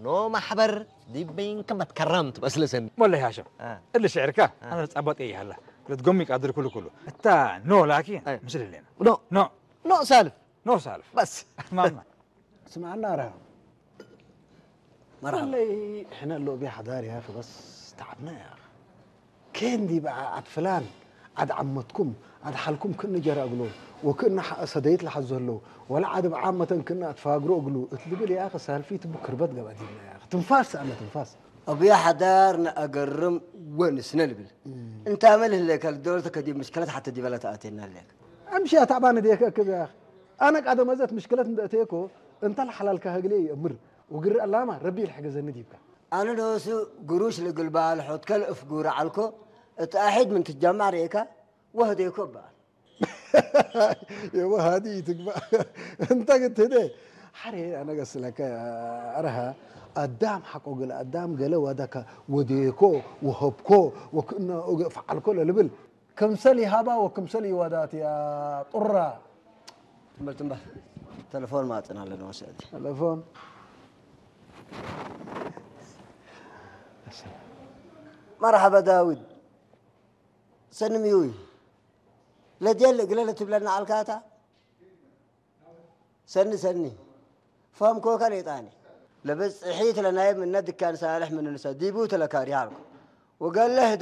ኖ ማሕበር ዲበይን ከመት ከራም ትመስለ ሰኒ። ሞለይ ሃሸም እሊ ሽዕርካ ኣነ ጻባጥ እየ ሃላ ለትጎሚ ቃድር ኩሉ ኩሉ እታ ኖ ላኪ ኣይ። ምስል ሌና ኖ ኖ ኖ ሳልፍ ኖ ሳልፍ በስ ማማ ስማዕና ራ መርሓባ ለይ ሕነ ሎ ቢ ሓዳር ያ በስ ተዓብና ያ ኬንዲ በዓ ዓድ ፍላን ዓድ ዓመትኩም ዓድ ሓልኩም ክእኒ ጀራ እግሎ ወክእኒ ሰደይት ለሓዞ ኣለዉ ወላ ዓድ ብዓመተን ክእኒ ኣትፋግሮ እግሉ እትልብል ያ ሰልፊ ትቡ ክርበት ገባ ዲብና ያ ትንፋስ ኣነ ትንፋስ أبو يا حدار نأجرم ونسنا البل. أنت عمل هلك الدولة كدي مشكلة حتى دي بلا تأتينا لك. أمشي أتعبان ديك أكب يا أخي. أنا قاعد مزت مشكلة أتيكو أنت الحلال كهجلي أمر وقر اللامة ربي الحق زنديبك. أنا دوسو قروش لقلبال حوت كل أفقور عالكو اتأحد من تجمع ريكا وهديكو بال. የወሃዲ ትግባ እንተ ግትደ ሓሬ ኣነ ገስለከ ኣረሃ ኣዳም ሓቆ ገለ ኣዳም ገለ ዋዳካ ወዴኮ ወሀብኮ ወክእነ ፈዓልኮ ለልብል ክምሰል ይሃባ ወክምሰል ይዋዳት ያ ጡራ ትንበል ትንበል ተለፎን ማጥን ኣለና ወሰዲ ተለፎን መርሓባ ዳዊት ሰኒ ምዩይ ለጀል እግለ ለትብለና ኣልካታ ሰኒ ሰኒ ፋም ኮካ ሌጣኒ ለበጽሒት ለናይ ምነ ድካን ሳልሕ ምንንሰ ዲቡ ተለካሪ ሃልኩ ወገለ ህዳ